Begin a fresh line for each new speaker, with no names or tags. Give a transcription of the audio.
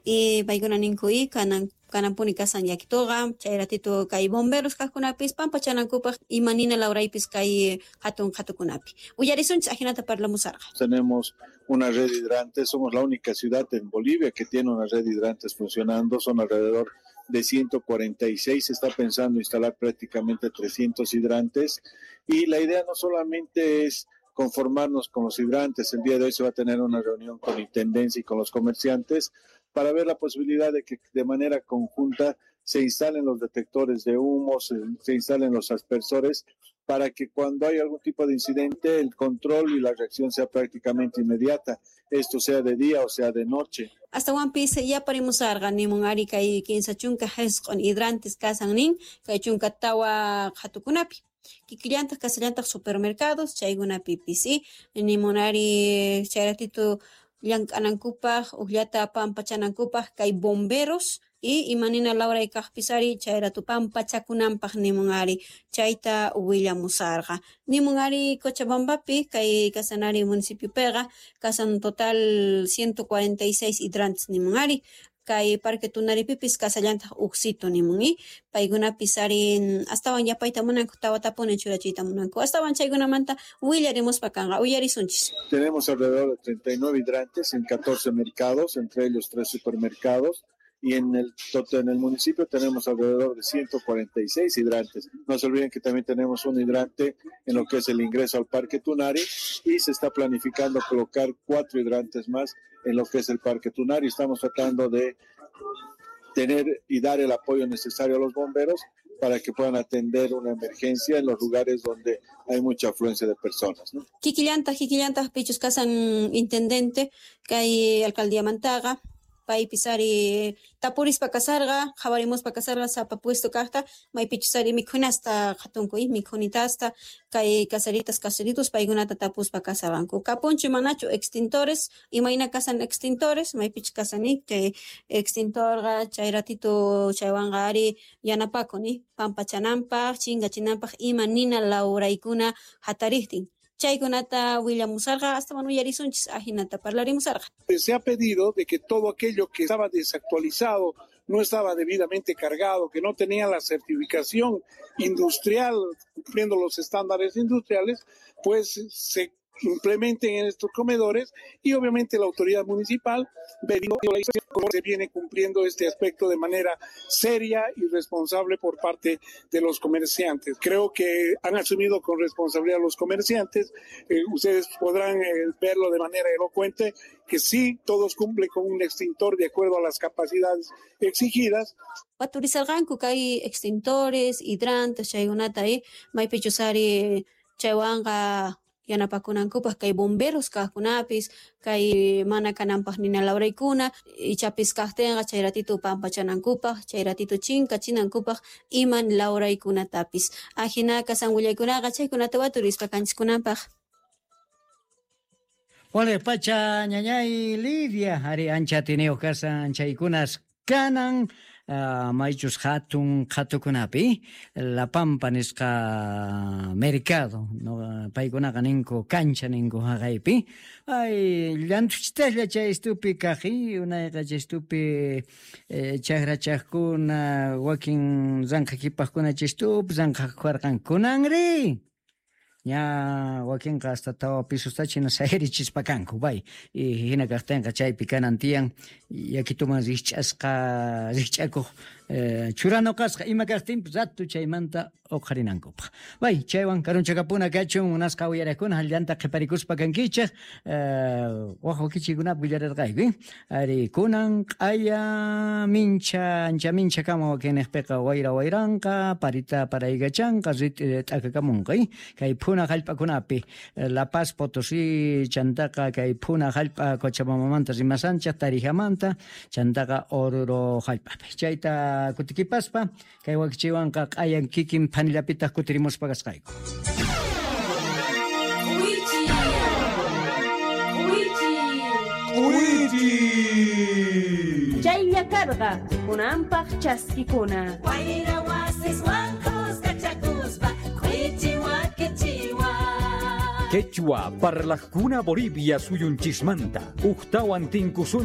Y paykuna ninku y kanan kananpuni kasan yakituqa chay ratito kay bomberos kaqkunapis pampachanankupaq ima nina lawraypis kay hatun qhatukunapi. Uyarisunchis ajinata parlamusarqa.
Tenemos una red de hidrantes, somos la única ciudad en Bolivia que tiene una red de hidrantes funcionando, son alrededor de 146, se está pensando instalar prácticamente 300 hidrantes y la idea no solamente es conformarnos con los hidrantes, el día de hoy se va a tener una reunión con Intendencia y con los comerciantes para ver la posibilidad de que de manera conjunta se instalen los detectores de humo, se instalen los aspersores, para que cuando hay algún tipo de incidente el control y la reacción sea prácticamente inmediata, esto sea de día o sea de noche.
Astawanpis yaparimusarqa nimun ari kay 34 hidrantes kasan nin kay 14 qhatukunapi. Kikillantaq kasallantaq supermercados chaykunapipis y nimun ari chay ratito llank'anankupaq uqllata pampachanankupaq kay bomberos y imanina lawray kaqpis ari chay rato pampachakunanpaq nimun ari chayta willamusarqa. Nimun ari Cochabambapi kay kasanari municipiopiqa kasan total 146 hidrantes nimun ari kay Parque Tunaripipis kasallantaq uqsito nimun y paykunapis ari astawan yapayta munanku tawatapuni churachiyta munanku astawan chaykunamanta willarimuspa kanqa uyarisunchis.
Tenemos alrededor de 39 hidrantes en 14 mercados, entre ellos 3 supermercados, y en el municipio tenemos alrededor de 146 hidrantes. No se olviden que también tenemos un hidrante en lo que es el ingreso al Parque Tunari y se está planificando colocar 4 hidrantes más en lo que es el Parque Tunari. Estamos tratando de tener y dar el apoyo necesario a los bomberos para que puedan atender una emergencia en los lugares donde hay mucha afluencia de personas, ¿no?
Kikillantaq pichus kasan intendente kay alcaldía Mantaga paypis ari tapurispa kasarqa qhawarimuspa kasarqa sapa puesto kaqta maypichus ari mikhunasta qhatunku y mikhunitasta kay kasaritas kasaritos paykunata tapuspa kasarqanku kapunchu manachu extintores imayna kasan extintores maypichus kasani chay extintorqa chay ratito chaywanqa ari yanapakun pampachananpaq chinkachinanpaq ima nina lawraykuna hatariqtin. Chaykunata willamusarqa astawan uyarisunchis ajinata parlarimusarqa.
Se ha pedido de que todo aquello que estaba desactualizado, no estaba debidamente cargado, que no tenía la certificación industrial, cumpliendo los estándares industriales, pues se implementen en estos comedores y obviamente la autoridad municipal se viene cumpliendo este aspecto de manera seria y responsable por parte de los comerciantes. Creo que han asumido con responsabilidad los comerciantes. Ustedes podrán verlo de manera elocuente que sí, todos cumplen con un extintor de acuerdo a las capacidades exigidas.
Waturizarqanku kay extintores, hidrantes, chaykunata maypichus ari chaywanqa yanapakunankupaq kay bomberos kaqkunapis kay mana kananpaq nina lawraykuna ichapis kaqtinqa chay ratito pampachanankupaq chay ratito chinkachinankupaq iman lawraykunatapis ajina kasan willaykunaqa chaykunata waturispa kanchiskunanpaq.
Wale pacha ñañay Lidia ari ancha tiniyuq kasan chaykunas kanan maychus hatun qhatukunapi La Pampa nisqa mercado no paykunaqa ninku kancha ninku haqaypi ay llantuchitaslla chay estupi kaqi unayqa chay estupi chakrachaqkuna wakin ranqhakipaqkuna chay estupi ranqhakuarqan kunanri ña wakinqa hasta tawa pisustachi hina sayarichispa kanku bay y hina kaqtinqa chaypi kanan tiyan yakituman rikch'asqa rikch'akuq churanuqasqa ima kaqtinpis ratu chaymanta uqharinankupaq bay chaywan karunchakapuna kachun munasqa uyariqkuna llanta qhiparikuspa kankichik waq wakichikunapi willarirqayku ari kunan q'aya mincha ancha mincha kama wakinniqpiqa wayra wayranqa parita paraykachanqa rit'i t'akakamunqa kay phuna hallp'akunapi La Paz Potosí chantaqa kay phuna hallp'a Cochabambamanta rimasanchaq Tarijamanta chantaqa Oruro hallp'api chayta kutikipaspa kay wakichiwanqa q'ayan kikin phanillapitaq kutirimuspa kasqayku.
Chaylla karqa kunanpaq chaskikuna.
Wayra wasiswan kuskachakuspa k'uichi wakichiwa.
Quechua parlaqkuna Bolivia suyunchismanta uktawan tinkusun.